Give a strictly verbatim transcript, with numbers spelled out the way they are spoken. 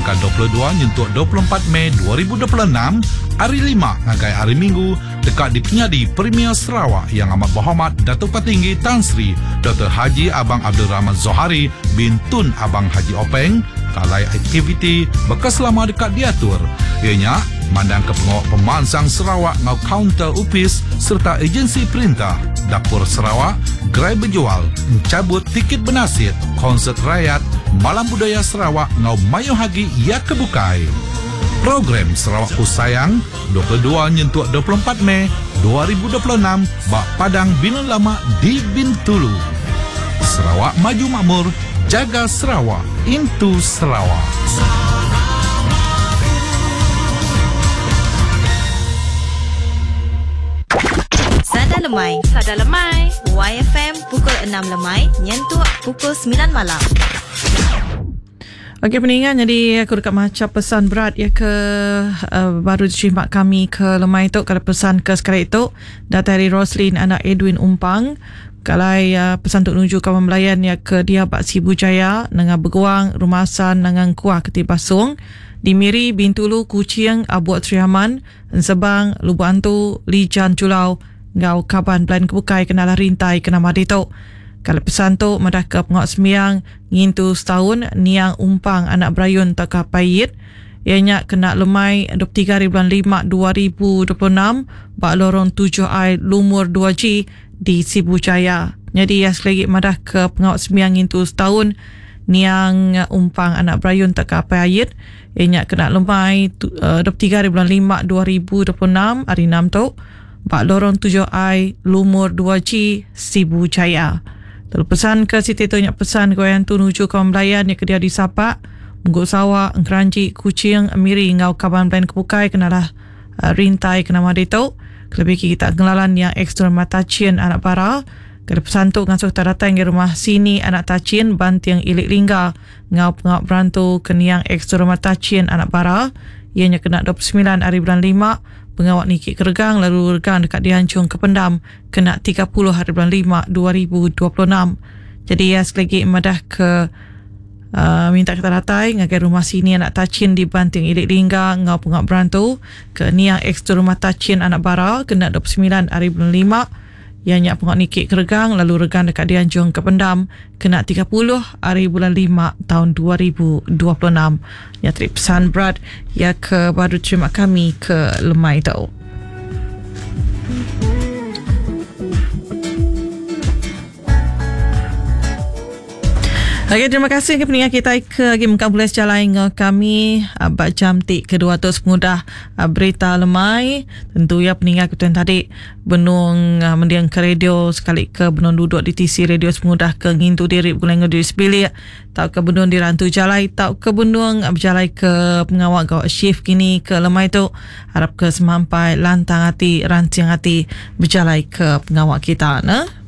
Berengkah dua puluh dua nyentuk dua puluh empat Mei dua ribu dua puluh enam, hari lima ngagai hari Minggu dekat di Penyadi Premier Sarawak Yang Amat Berhormat Datuk Patinggi Tan Sri Doktor Haji Abang Abdul Rahman Zohari bin Tun Abang Haji Openg kalai aktiviti bekeselama dekat diatur. Ianya mandang ke pengawal pemansang Sarawak ngau kaunter upis serta agensi perintah, dapur Sarawak, gerai berjual, encabut tiket bernasit, konsert rakyat, malam budaya Sarawak ngau mayu hagi ia kebukai. Program Sarawak Ku Sayang dua puluh dua nyentuk dua puluh empat Mei dua ribu dua puluh enam bak Padang Bilun Lama di Bintulu. Sarawak Maju Makmur, jaga Sarawak, into Sarawak. Sada Lemai. Sada Lemai. Y F M pukul enam lemai nyentuk pukul sembilan malam. Okey peningan, jadi aku dekat macam pesan berat ya ke uh, baru diterima kami ke lemai tu. Kalau pesan ke sekali itu datang dari Roslin anak Edwin Umpang. Kalau uh, pesan untuk menuju kawan melayan ya ke dia Bak Sibu Jaya, Nengah Beguang, Rumah San, Nengah Kuah Ketibasung, di Miri, Bintulu, Kuching, Abuak Triaman, Ensebang, Lubuk Antu, Lijan Julau, Ngau Kaban Belayan Kebukai kenalah rintai kena madi tu. Kalau pesan tu madah ke pengok semiang ngintu setahun niang Umpang anak Berayun tak payit. Ianya kena lemai dua puluh tiga hari bulan lima dua ribu dua puluh enam bak lorong tujuh I lumur dua G di Sibu Jaya. Jadi ya sekali lagi madah ke pengok semiang ngintu setahun niang Umpang anak Berayun tak payit. Ianya kena lemai dua puluh tiga hari bulan lima dua ribu dua puluh enam hari enam tu bak lorong tujuh I lumur dua G Sibu Jaya. Lalu pesan ke Siti tu nyak pesan ke yang tu nuju kaum Melayan yang kedia di Sapak, Mungguk Sawak, Engkeranji, Kuching, Miri ngau kaban plan kebukai kenalah uh, rintai kena madi tu. Kelebih kita kengelalan yang ekstra mata cien anak para. Kena pesan tu ngasuh tak datang ke rumah sini anak tacien banting ilik lingga ngau pengap berantu keniang ekstra mata cien anak para. Ianya kena dua puluh sembilan hari bulan lima. Pengawak Niki Keregang lalu regang dekat dihancung ke pendam kena tiga puluh hari bulan lima dua ribu dua puluh enam. Jadi ya sekali lagi madah ke uh, minta kita datai ngagai rumah sini anak tacin di Banting Ilik Lingga ngau pengawak berantu ke niang ex rumah tacin anak bara kena dua puluh sembilan hari bulan lima. Yang nyak pengawak Niki Keregang lalu regang dekat dianjung ke pendam kena tiga puluh hari bulan lima tahun dua ribu dua puluh enam. Ya trip pesan berat ya ke baru terima kami ke lemai tu. Okey, terima kasih ke pendengar kita ke lagi mengkau boleh jalan dengan kami bak jam tik kedua tu semudah berita lemai. Tentu ya pendengar kita tadi benung mendiang ke radio sekali ke benung duduk di T C radio semudah ke ngintu diri bulan diri sebilik tau ke benung di rantu jalai tau ke benung berjalai ke pengawak gawak shift kini ke lemai tu. Harap ke semampai lantang hati rancing hati berjalai ke pengawak kita nah.